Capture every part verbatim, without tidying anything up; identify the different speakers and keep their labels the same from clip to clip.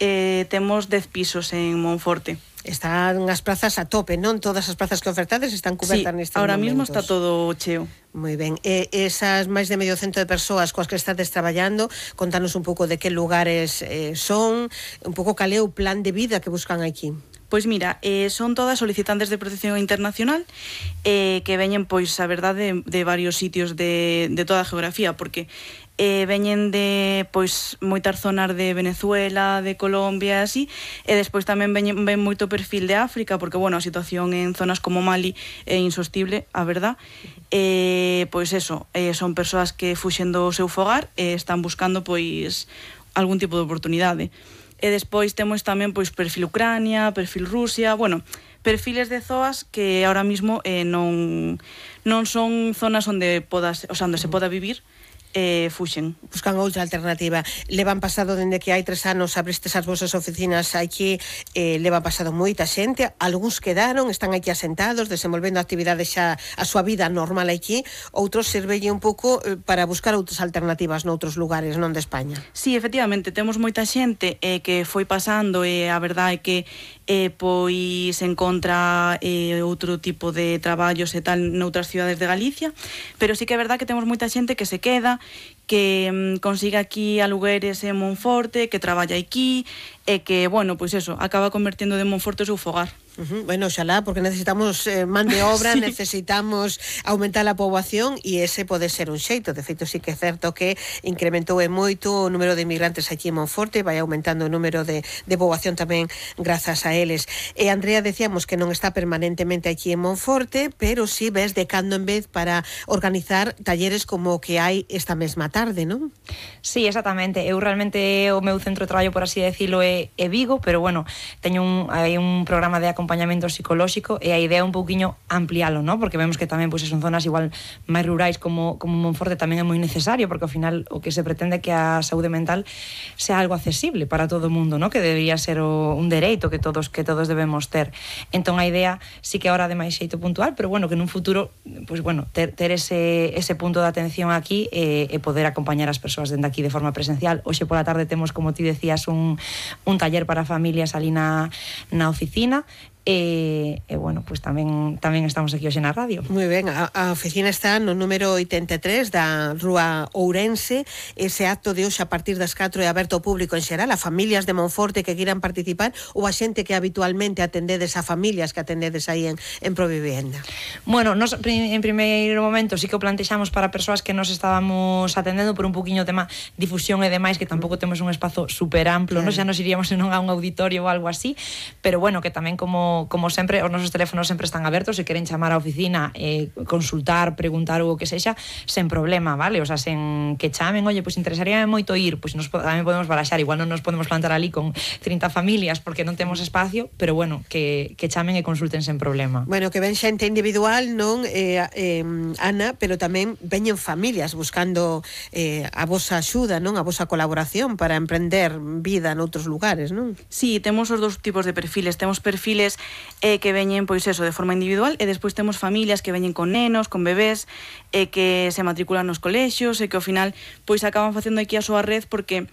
Speaker 1: eh, temos dez pisos en Monforte.
Speaker 2: Están as plazas a tope, non? Todas as plazas que ofertades están cubertas
Speaker 1: sí,
Speaker 2: nestes
Speaker 1: ahora
Speaker 2: momentos.
Speaker 1: Mismo está todo cheo.
Speaker 2: Moi ben. E esas máis de medio cento de persoas coas que estades traballando, contanos un pouco de que lugares eh, son, un pouco cal é o plan de vida que buscan aquí.
Speaker 1: Pois mira, eh, son todas solicitantes de protección internacional eh, que veñen, pois, a verdade, de, de varios sitios de, de toda a geografía, porque eh, veñen de, pois, moitas zonas de Venezuela, de Colombia, así, e despois tamén veñen, ven moito perfil de África, porque, bueno, a situación en zonas como Mali é insostible, a verdad. Eh, pois eso, eh, son persoas que fuxen do seu fogar e están buscando, pois, algún tipo de oportunidade. E despois temos tamén pois perfil Ucrania, perfil Rusia, bueno, perfiles de zoas que ahora mismo eh, non non son zonas onde podas, o sea, onde se poda vivir. Eh, fuxen.
Speaker 2: Buscan outra alternativa. Levan pasado dende que hai tres anos abristes as vosas oficinas aquí, eh, levan pasado moita xente, algúns quedaron, están aquí asentados, desenvolvendo actividades xa a súa vida normal aquí, outros servelle un pouco eh, para buscar outras alternativas noutros lugares, non de España.
Speaker 1: Sí, efectivamente, temos moita xente eh, que foi pasando e a verdade é que eh, pois encontra eh, outro tipo de traballos e tal noutras cidades de Galicia, pero sí que é verdade que temos moita xente que se queda, que mm, consigue aquí alugueres en Monforte, que traballa aquí e que, bueno, pois eso, acaba convertindo de Monforte o seu fogar.
Speaker 2: Uh-huh. Bueno, oxalá, porque necesitamos eh, man de obra, sí. Necesitamos aumentar a poboación e ese pode ser un xeito. De feito, sí que é certo que incrementou e moito o número de inmigrantes aquí en Monforte, vai aumentando o número de, de poboación tamén grazas a eles. E Andrea, decíamos que non está permanentemente aquí en Monforte, pero sí ves de cando en vez para organizar talleres como o que hai esta mesma tarde, non?
Speaker 3: Sí, exactamente. Eu realmente o meu centro de traballo, por así decirlo, é, é Vigo, pero bueno, teño un, hai un programa de acompañamento psicolóxico e a idea é un pouquiño ampliálo, ¿no? Porque vemos que tamén pois, son zonas igual máis rurais como, como Monforte tamén é moi necesario, porque ao final o que se pretende é que a saúde mental sea algo accesible para todo o mundo, ¿no? Que debería ser o, un dereito que todos que todos debemos ter. Entón a idea sí que ahora de máis xeito puntual, pero bueno, que nun futuro pues, bueno, ter, ter ese, ese punto de atención aquí e, e poder acompañar as persoas dende aquí de forma presencial. Hoxe pola tarde temos, como ti decías, un, un taller para familias ali na, na oficina. E, e bueno, pois pues tamén tamén estamos aquí hoxe na radio.
Speaker 2: Moi ben, a, a oficina está no número oitenta e tres da Rúa Ourense. Ese acto de hoxe a partir das catro é aberto ao público en xeral, a familias de Monforte que queiran participar ou a xente que habitualmente atendedes a familias que atendedes aí en, en Provivienda.
Speaker 3: Bueno, nos en primeiro momento sí que o plantexamos para persoas que nos estábamos atendendo por un poquinho tema difusión e demais, que tampouco temos un espazo super amplo, claro. No? Xa nos iríamos non a un auditorio ou algo así, pero bueno, que tamén como como sempre, os nosos teléfonos sempre están abertos, se queren chamar á oficina e eh, consultar, preguntar ou o que sexa, sen problema, vale? O sea, sen que chamen, oye, pois pues, interesaríame moito ir, pois pues, nos tamén podemos baraxar, igual non nos podemos plantar ali con trinta familias porque non temos espacio, pero bueno, que, que chamen e consulten sen problema.
Speaker 2: Bueno, que ven xente individual, non, eh, eh, Ana, pero tamén veñen familias buscando eh, a vosa axuda, non? A vosa colaboración para emprender vida noutros lugares, non?
Speaker 1: Sí, temos os dous tipos de perfiles, temos perfiles eh, que veñen, pois eso, de forma individual, e despois temos familias que veñen con nenos, con bebés, e eh, que se matriculan nos colexios, e que ao final, pois acaban facendo aquí a súa red, porque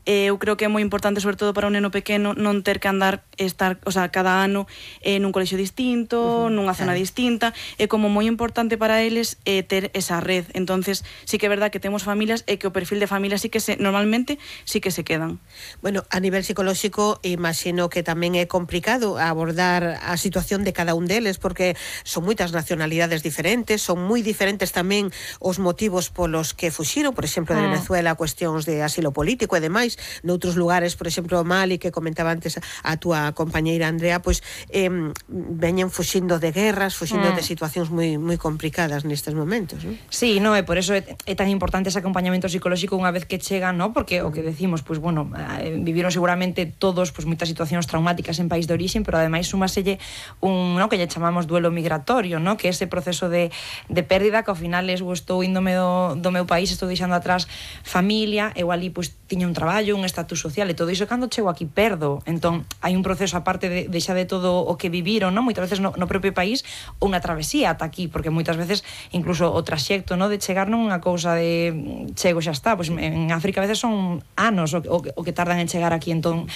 Speaker 1: eh, eu creo que é moi importante, sobre todo para un neno pequeno, non ter que andar, estar, o sea, cada ano eh, nun colexio distinto, uh-huh, nunha zona claro. distinta, é como moi importante para eles eh, ter esa red. Entonces, sí que é verdad que temos familias e que o perfil de familia sí que se, normalmente sí que se quedan.
Speaker 2: Bueno, a nivel psicolóxico, imagino que tamén é complicado abordar a situación de cada un deles, porque son moitas nacionalidades diferentes, son moi diferentes tamén os motivos polos que fuxiron, por exemplo, de Venezuela, cuestións de asilo político e demais. Noutros lugares, por exemplo, Mali, que comentaba antes a túa compañeira Andrea, pois eh, veñen fuxindo de guerras, fuxindo mm. de situacións moi moi complicadas nestes momentos, non?
Speaker 3: Sí, no, e por eso é, é tan importante ese acompañamento psicolóxico unha vez que chegan, ¿no? Porque o que decimos, pois bueno, eh, viviron seguramente todos pois moitas situacións traumáticas en país de orixen, pero ademais sumaselle un, ¿no? Que lle chamamos duelo migratorio, ¿no? Que ese proceso de, de pérdida que ao final es, estou índome do, do meu país, estou deixando atrás familia, eu ali pois tiña un traballo, un estatus social e todo iso, cando chego aquí perdo. Entón, hai un proceso aparte de, de xa de todo o que viviron, non? Moitas veces no, no propio país, unha travesía ata aquí, porque moitas veces incluso o traxecto, non? De chegar non unha cousa de chego xa está, pois en África a veces son anos o, o, o que tardan en chegar aquí, entón